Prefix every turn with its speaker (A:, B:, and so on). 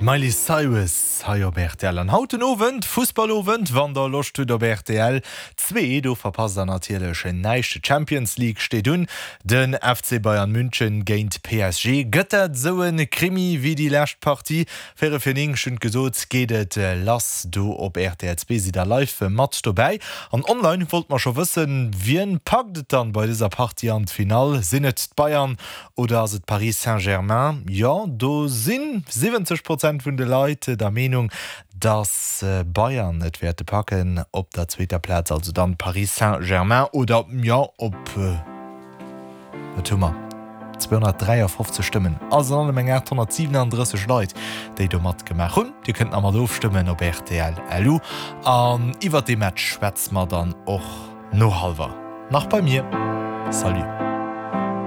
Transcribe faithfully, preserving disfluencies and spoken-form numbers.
A: D'Miley Cyrus hei op rtl. An haut den Owend, Fussballowend, wann der Loscht hutt op rtl zwee, do verpasst der natierlech näischt. D'Champions League steet un, den F C Bayern München géint P S G. Gëtt dat esou e Krimi wéi déi lescht Partie? Véierel vir néng, ech hunn et gesot, geet et lass do op rtl zwee. Sidd der live mat dobäi. An online wollt mer scho wëssen, wien packt et dann bei dëser Partie an d'Finall? Sinn et d'Bayern oder ass et Paris Saint-Germain? Jo, do si siwwenzeg Prozent vun de Leit der Meenung, dass Bayern et wäerte packen. Op der zweeter Plaz also dann Paris Saint-Germain oder jo op wat hu mer? zweehonnertdräiafofzeg Stëmmen, also an allem eng aathonnertsiwenandrësseg Leit, déi do matgemaach hunn. Dir kënnt nach mat ofstëmmen op rtl L U an iwwert dee Match schwätze mer dann och no hallwer nach bei mir. Salut.